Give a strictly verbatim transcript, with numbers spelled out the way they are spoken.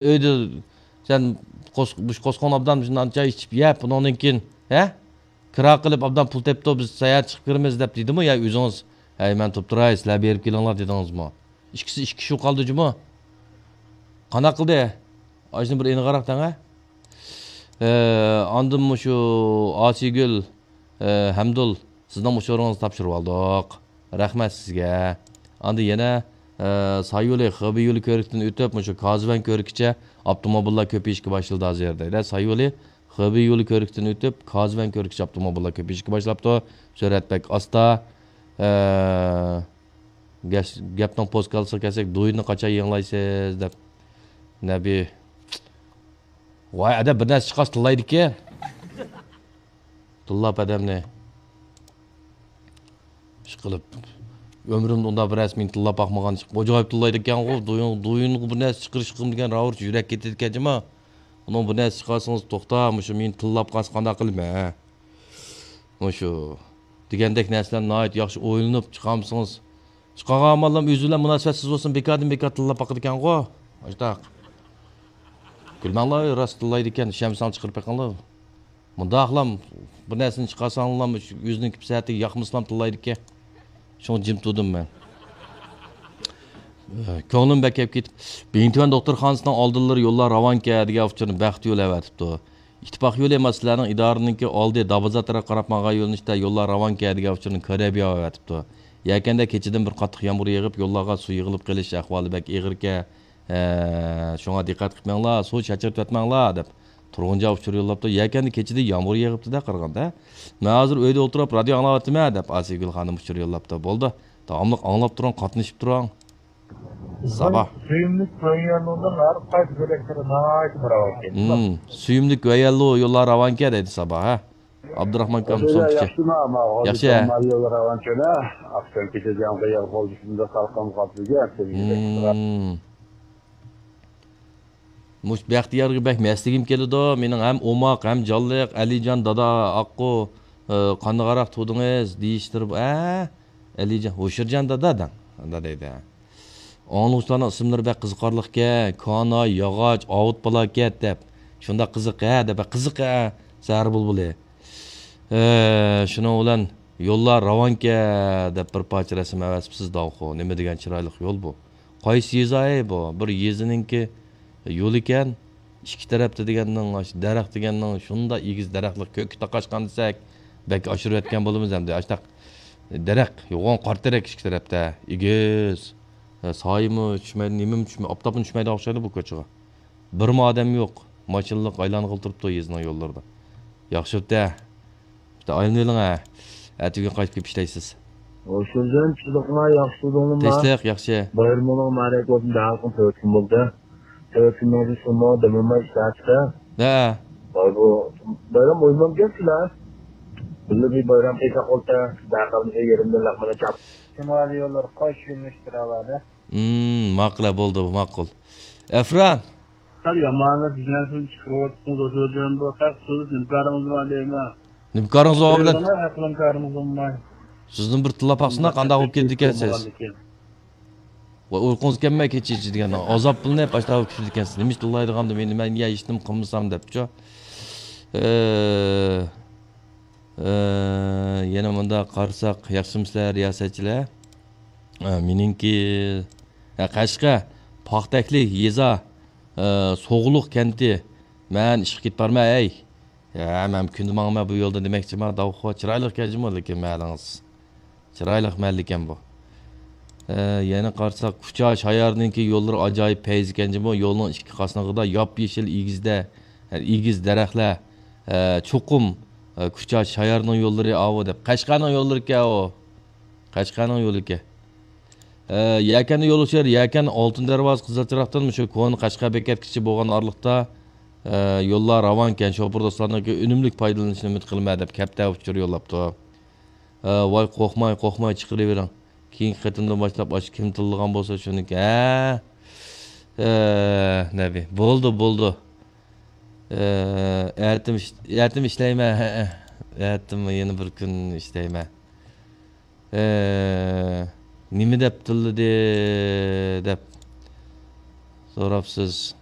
ئۆيدە سەن قوس-، مۇشۇ قوسقۇڭنى ئابدان مۇشۇنداق چاي ئىچىپ يەپ، ئۇنىڭدىن كېيىن، ھە؟ كىرا قىلىپ ئابدان پۇل تېپىپتۇ، بىز ساياھەت چىقىپ كىرىمىز دەپ دېدىمۇ يا ئۆزىڭىز؟ ھەي، مەن تۇرۇپ تۇراي، سىلەر بېرىپ كېلىڭلار دېدىڭىزمۇ؟ ئىككىسى ئىككى كىشى قالدى جۇمۇ. قانداق قىلدى؟ ئاشۇنى بىر ئېنىقراق دەڭە. ئە، ئاندىن مۇشۇ ئاسىيگۈل، ئە، ھەمدۇل، سىزنىڭ ئۇچۇرىڭىزنى تاپشۇرۇۋالدۇق. رەھمەت سىزگە. ئاندىن يەنە، ئە، ساي يولى، خېبېي يولى كۆرۈكىدىن ئۆتۈپ، مۇشۇ كازۋەن كۆرۈكىچە ئاپتوموبىللار كۆپىيىشكە باشلىدى ھازىر دەيدۇ. ساي يولى، خېبېي يولى كۆرۈكىدىن ئۆتۈپ، كازۋەن كۆرۈكىچە ئاپتوموبىللار كۆپىيىشكە باشلاپتۇ. سۈرئەت بەك ئاستا. ئە، گەش-، گەپنىڭ پوسكالىسىغا كەلسەك، دۇيىنى قاچان يېڭىلايسىز دەپ. نەبى. ۋاي، ئەدە بىر نەرسە چىقارسا تىللايدىكەن. تىللاپ ئادەمنى. ئىشقىلىپ، ئۆمرۈمدە ئۇنداق بىر نەرسە مېنى تىللاپ باقمىغان. ئاجايىپ تىللايدىكەنغۇ، دۇيۇن-، دۇيۇنغا بىر نەرسە چىقىرىشقىم دېگەن راۋۇرۇچ يۈرەك كېتىدىكەن جۇما. ئۇنىڭ بىر نەرسە چىقارسىڭىز، توختا، مۇشۇ مېنى تىللاپ قالسا قانداق قىلىمەن، ھە؟ مۇشۇ دېگەندەك نەرسىلەرنى ناھايىتى ياخشى ئويلىنىپ چىقارمىسىڭىز، چىقارغان ئاماللام ئۆزى بىلەن مۇناسىۋەتسىز بولسۇن، بىكاردىن بىكار تىللاپ باقىدىكەنغۇ. ئاشتاق. كۈلمەڭلار، راست تىللايدىكەن، ئىشەنمىسەڭ چىقىرىپ بېقىڭلار. مۇنداقلام بىر نەرسىنى چىقارساڭلام، ئۆزىنىڭ كىپسەتى ياقمىسىلام تىللايدىكەن. شۇڭا جىم تۇردۇم مەن. كۆڭلۈم بەك كەپ كېتىپ، بىڭتۈەن دوختۇرخانىسىنىڭ ئالدىلىرى يوللار راۋانكەن دېگەن ئۇچۇرنى بەخت يولى ئەۋەتىپتۇ. ئىتتىپاق يولى ئەمەس، سىلەرنىڭ ئىدارىنىڭكى ئالدى دابازا تەرەپ قاراپ ماڭغان يۆنىلىشتە يوللار راۋانكەن دېگەن ئۇچۇرنى كۆرەبىياۋ ئەۋەتىپتۇ. يەكەندە كېچىدىن بىر قاتتىق يامغۇر يېغىپ، يوللارغا سۇ يىغىلىپ قېلىش ئەھۋالى بەك ئېغىركەن. ھە، شۇڭا دىققەت قىلىپ مېڭىڭلار، سۇ چاچرىتىۋەتمەڭلار دەپ تۇرغۇنجان ئۇچۇر يوللاپتۇ. يەكەندە كېچىدە يامغۇر يېغىپتۇ-دە قارىغاندا. مەن ھازىر ئۆيدە ئولتۇرۇپ رادىيو ئاڭلاۋاتىمەن دەپ ئاسىيگۈل خانىم ئۇچۇر يوللاپتۇ. بولدى، داۋاملىق ئاڭلاپ تۇرۇڭ، قاتنىشىپ تۇرۇڭ. سابا. سۆيۈملۈك ۋەيەلنۇدىن ھەر قايسى بۆلەكلىرى ناھايىتى بىر ئاۋات ئىكەن. ھىم، سۆيۈملۈك ۋەيەللۇ يوللار راۋانكەن دەيدۇ سابا، ھە؟ ئابدۇراخمان ئاكام سومكىچى. ياخشىمۇ؟ ياخشى. مال يوللار راۋانكەن، ھە؟ ئاقسان كېچىدە يامغۇر يېغىپ بولدى، شۇنداق سالقىن قاپلىگەن. ھىم. مۇشۇ بەختىيارغا بەك مەسلىگىم كېلىدۇ. مېنىڭ ھەم ئوماق، ھەم جانلىق، ئەلىجان دادا ئاققۇ، ئى، قانداقراق تۇردىڭىز دېيىشلىرى بۇ. ئە، ئەلىجان، ھوشۇرجان دادا دەڭ. دادا دەيدۇ. ئاڭلىغۇچىلارنىڭ ئىسىملىرى بەك قىزىقارلىقكەن. كانا، ياغاچ، ئاۋۇت بالاكەت دەپ. شۇنداق قىزىق ھە دەپ، قىزىق ھە، سەھەر بۇلبۇلى. ئە، شۇنىڭ بىلەن يوللار راۋانكەن دەپ بىر پارچە رەسىم ئەۋەتىپسىز داۋخۇ. نېمە دېگەن چىرايلىق يول بۇ. قايسى يېزا ئەي بۇ؟ بىر يېزىنىڭكى يولى ئىكەن. ئىككى تەرەپتە دېگەننىڭ، ئاشۇ دەرەخ دېگەننىڭ شۇنداق ئېگىز دەرەخلىك كۆككە تاقاشقان دېسەك، بەك ئاشۇرۇۋەتكەن بولىمىز ئەمدى. ئاشۇنداق دەرەخ، يوغان قارا تېرەك ئىككى تەرەپتە. ئېگىز. سايىمۇ چۈشمەيدۇ، نېمىمۇ چۈشمەيدۇ، ئاپتاپمۇ چۈشمەيدىغان ئوخشايدۇ بۇ كوچىغا. بىرمۇ ئادەم يوق. ماشىنىلىق ئايلانغىلى تۇرۇپتۇ يېزىنىڭ يوللىرىدا. ياخشى ئۆتە. بىتە ئايلىنىۋېلىڭ ھە. ئەتىگۈن قايتىپ كېلىپ ئىشلەيسىز. ھوشۇرجان، چىلىقىڭا ياخشى تۇردۇڭلىما؟ تىنچلىق، ياخشى. بايرىمىڭلار مۇبارەك بولسۇن، دەل قىلىپ تۆت كۈن بولدى. تۆت كۈننىڭ ئىچىدە شۇمۇ دېمىماي ئىشلەپسىلەر. ھە. ۋاي بۇ بايرام ئوينىمامكەن سىلەر. بىللە بىر بايرام قىلساق بولسا، دەل قىلىپ يېرىمدىن لەقمىنى چاپ. شىمالىي يوللار قايسى يۆنىلىشتە راۋانە؟ ھىم، ماقۇل، بولدى، ماقۇل. ئەفران. سەل يامانلا دېگەن سۆزنى چىقىرىۋاتىسىز، ئوشۇرجان بۇ خەق سۆز نىمكارىڭىز بار دەيمەن. نىمكارىڭىز بار بىلەن. ھەقلىمكارىڭىز بولماي. سۆزنى بىر تىللاپ باقسىنا، قانداق بولۇپ كېتىدىكەنسىز؟ ۋە ئۇيقۇڭىز كەلمەي كېچە-كېچە دېگەن ئازاب بىلىنىپ، ئاشۇنداق بولۇپ كېتىدىكەنسىز. نېمە ئىش تىللايدىغاندۇ مېنى، مەن يا ھېچنېمە قىلمىسام دەپچۇ. ئە، ئە، يەنە مۇنداق قارىساق، ياخشىمۇسىلەر رىياسەتچىلەر؟ ئە، مېنىڭكى، ئە، قەشقەر، پاختەكلىك يېزا، ئە، سوغلۇق كەنتى. مەن ئىشقا كېتىپ بارىمەن، ھەي. ھە، مەن كۈندە ماڭىمەن بۇ يولدا دېمەكچىمەن، داۋخۇ. چىرايلىق ئىكەن جۇمۇ، لېكىن مەھەللىڭىز. چىرايلىق مەھەللە ئىكەن بۇ. ھە، يەنە قارىساق، كۇچا شايارنىڭكى يوللىرى ئاجايىپ پەيز ئىكەن جۇمۇ. يولنىڭ ئىككى قاسنىقىدا ياپيېشىل ئېگىزدە، ئېگىز دەرەخلەر، ھە، چوقۇم، ھە، كۇچا شايارنىڭ يوللىرى ئاۋۇ دەپ. قەشقەرنىڭ يوللىرى ئىكەن ئاۋۇ. قەشقەرنىڭ يولى ئىكەن. ئە، يەكەندە يول ئۇچۇر، يەكەن ئالتۇن دەرۋازا قىزىل چىراغدىن مۇشۇ كونا قەشقەر بېكەتكىچە بولغان ئارىلىقتا، ئە، يوللار راۋانكەن، شوپۇر دوستلارنىڭكى ئۈنۈملۈك پايدىلىنىشىنى ئۈمىد قىلىمەن دەپ كەپتە ئۇچۇر يوللاپتۇ. ئە، ۋاي قورقماي، قورقماي چىقىرىۋېرىڭ. كېيىنكى قېتىمدىن باشلاپ ئاشۇ كىم تىللىغان بولسا شۇنىڭكى. ھە. ئە، نەبى. بولدى، بولدى. ئە، ئەتىم ئىش-، ئەتىم ئىشلەيمەن. ھەئە. ئەتىم يەنە بىر كۈن ئىشلەيمەن. ئە، نېمە دەپ تىللىدى دەپ سوراپسىز.